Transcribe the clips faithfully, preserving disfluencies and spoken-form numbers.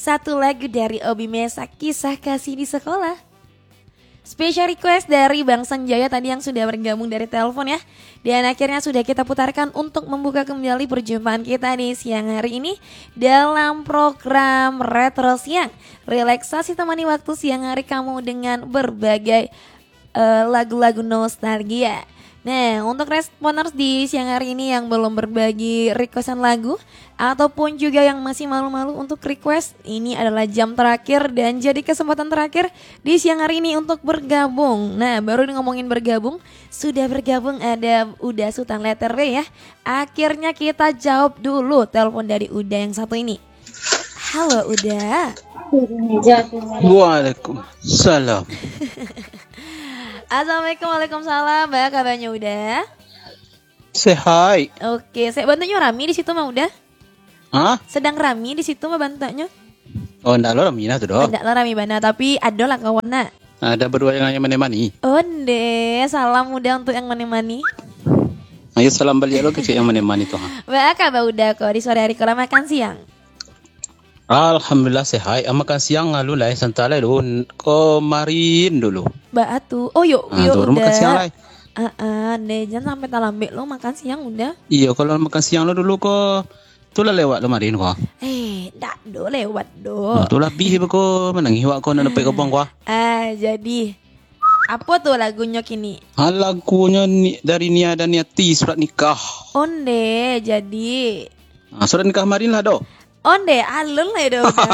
Satu lagu dari Obi Mesak, Kisah Kasih di Sekolah. Special request dari Bang Sanjaya tadi yang sudah bergabung dari telepon ya. Dan akhirnya sudah kita putarkan untuk membuka kembali perjumpaan kita di siang hari ini dalam program Retro Siang. Relaksasi temani waktu siang hari kamu dengan berbagai eh, lagu-lagu nostalgia. Nah, untuk responers di siang hari ini yang belum berbagi requestan lagu ataupun juga yang masih malu-malu untuk request, ini adalah jam terakhir dan jadi kesempatan terakhir di siang hari ini untuk bergabung. Nah, baru ngomongin bergabung, sudah bergabung ada Uda Sutan Letter B ya. Akhirnya kita jawab dulu telepon dari Uda yang satu ini. Halo Uda. Waalaikumsalam. Assalamualaikum, waalaikumsalam. Baa kabarnyo Uda? Sehat. Oke, saya bantuaknyo rami di situ mah Uda. Hah? Sedang rami di situ mah bantuaknyo. Oh, ndak lo rami nah tu doh. Ndak lo rami bana, tapi ado lah kawan nak. Ada berdua yang, yang menemani. Onde, salam Uda untuk yang menemani. Ayo salam balik lo ke yang menemani tu. Ha. Baa kabar Uda ko di sore hari ko lah makan siang? Alhamdulillah sehat. Ah, makan siang lalu lah, eh, santai lah dulu. Kemarin dulu. Baa tu. Oh, yo, Ah, yo, tu baru makan Uda. Siang lah. Ah, ah, deh, jangan sampai talambek lo makan siang Uda. Iyo, kalau makan siang lo dulu ko, tu lah lewat lo marin ko. Eh, dak do lewat do. Ah, tu lah bih ko, manangih wak ko nak dapat gabung ko. Ah, jadi. Apa tu lagunyo kini? Ah, lagunyo ni, dari Nia dan Niati, Surat Nikah. Onde, jadi. Ah, surat nikah marin lah do. Onde, alun lah do Uda.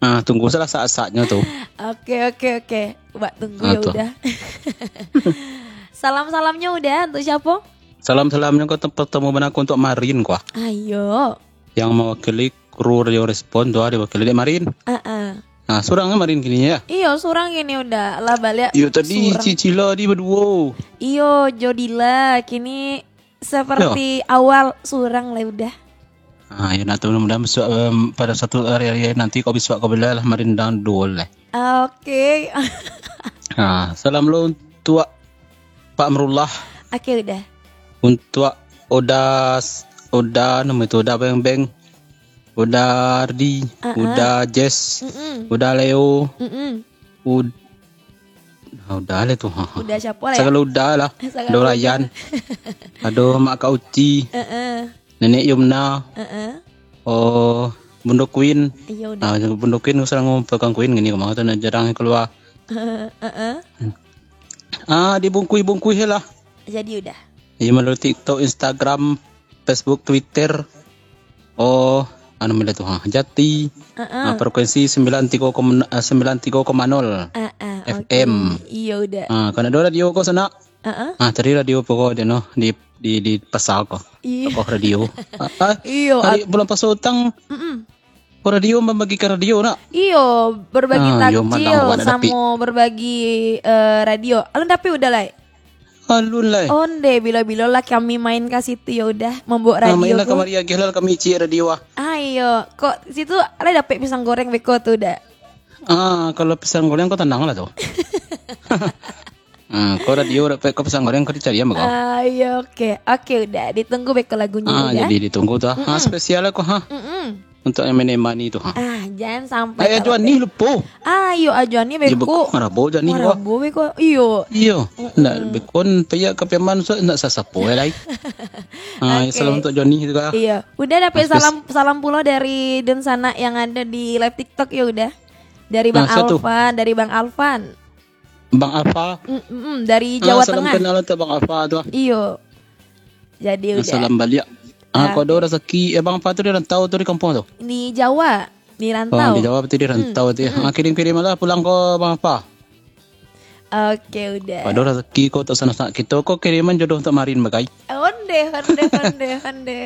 Ah, tunggu salah saat-saatnyo tu. Oke, oke, oke. Buat tunggu Ah, ya tu. Uda. Salam-salamnyo Uda untuk siapa? Salam-salamnyo ko tem-, pertemu bana ko untuk marin ko. Ayo. Yang mewakili kru Radio Respon tu, ah, diwakili dek marin. Ah, ah. Ah, surang marin kini ya. Iyo, surang kini Uda. Lah balik. Iyo, tadi surang. Cicila di berdua. Iyo, Jodila kini seperti Yo. Awal surang lah Uda. Ah, ya, nak tu mudah-mudahan besok, em, pada satu hari-hari nanti kau besok kau bela lah marin dan dua lah. Oke. Ah, salam lo untuk Pak Amrullah. Oke, Uda. Untuk Oda, Oda, nama itu, Oda Beng Beng. Uda Ardi, Ah, ah. Uda Jess, Mm-mm. Uda Leo, Mm-mm. Ud-, ah, Uda lah tu. Ha, ha. Uda siapa lah ya? Sagalo Uda lah. Sagalo Uda. Ado Ryan. Ado Mak Kak Uci. Heeh. Nenek Yumna. Heeh. Oh, Bundo Queen. Iya, Uda. Ah, Bundo Queen, sarang pegang Queen gini, kemana tu nak jarang keluar. Heeh. Ah, dibungkui-bungkui lah. Jadi Uda. Iya, melalui TikTok, Instagram, Facebook, Twitter. Oh, anu mila tu, ha. Jati. Heeh. Ah, frekuensi sembilan tiga koma, eh, sembilan tiga koma nol Heeh, F M. Oke. Iya, Uda. Ah, kan ado radio ko sanak. Heeh. Ah, tadi radio pokok dia no di, di, di pasar ko. Iya. Toko radio. Ah, ah, Iya, hari at- bulan puasa utang. Mm-mm. Ko radio membagikan radio nak? Iyo, berbagi Ah, iyo, takjil mandang awak nak dapik. Samo berbagi, eh, radio. Alun dapik Uda lai? Alun lai. Onde, bilo-bilo lah kami main ka situ yo Uda, mambaok Ah, radio mainlah ko. Kamari agiah lah kami icik radio ah. Ah, iyo. Kok situ lah dapik pisang goreng beko tu Uda? Ah, kalau pisang goreng ko tanang lah tu. Ah, ko radio dapik ko pisang goreng ko dicari ambo ko. Ah, iyo, oke. Oke, Uda. Ditunggu beko lagunyo Ah, Uda. Jadi ditunggu tu ah. Ah, Mm-mm. Spesial lah ko ha. Mm-mm. Untuk yang menemani tu ha. Ah, jangan sampai Eh, tak Ajuani dapat. Lupo. Ah, iyo, Ajuani Iyo, beko. Beko, marabo Ajuani ko. Marabo beko. Iyo. Iyo. Mm-mm. Nak beko, payah ka Piaman, so, nak sasapo eh, lai. Ah, Oke. Salam untuk Ajuani juga. Iyo. Uda dapik Mas, salam, salam pulo dari dunsanak yang ada di live TikTok yo Uda. Dari Bang Ah, siapa tu? Alfan, dari Bang Alfan. Bang Alfa. Mm, mm, mm, dari Ah, Jawa salam Tengah. Kenal untuk Bang Alfa tu ah. Iyo. Jadi Ah, Uda. Salam baliak. Ah, Ah, ko ado oke. Rasaki, eh, Bang Alfa tu di rantau tu di kampung tu? Di Jawa, di Oh, rantau. Di Jawa tu di rantau Mm, tu ya. Mm. Ah, kirim-kirim lah pulang ko Bang Alfa. Oke, Uda. Ado rasaki ko untuk sanak-sanak kito ko kiriman jodoh untuk Marin bagai. Onde, onde, onde, onde.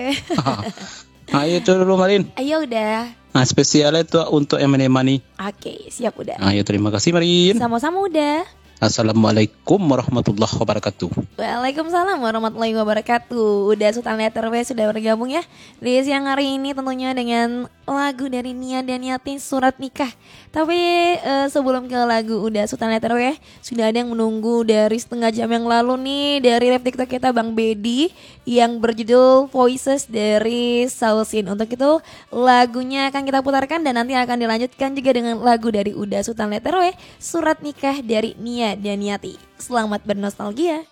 Ah, iyo tu dulu Marin. Ayo Uda. Ah, spesial itu untuk yang menemani. Oke, siap Uda. Ah, iyo, terima kasih Marin. Sama-sama Uda. Assalamualaikum warahmatullahi wabarakatuh. Waalaikumsalam warahmatullahi wabarakatuh. Uda Sultan Letter W sudah bergabung ya di siang hari ini tentunya dengan Lagu dari Nia Daniati, Surat Nikah. Tapi eh, sebelum ke lagu Uda Sutan Letter W, sudah ada yang menunggu dari setengah jam yang lalu nih, dari live TikTok kita, Bang Bedi, yang berjudul Voices dari Sausin. Untuk itu, lagunya akan kita putarkan dan nanti akan dilanjutkan juga dengan lagu dari Uda Sutan Letter W, Surat Nikah dari Nia Daniati. Selamat bernostalgia.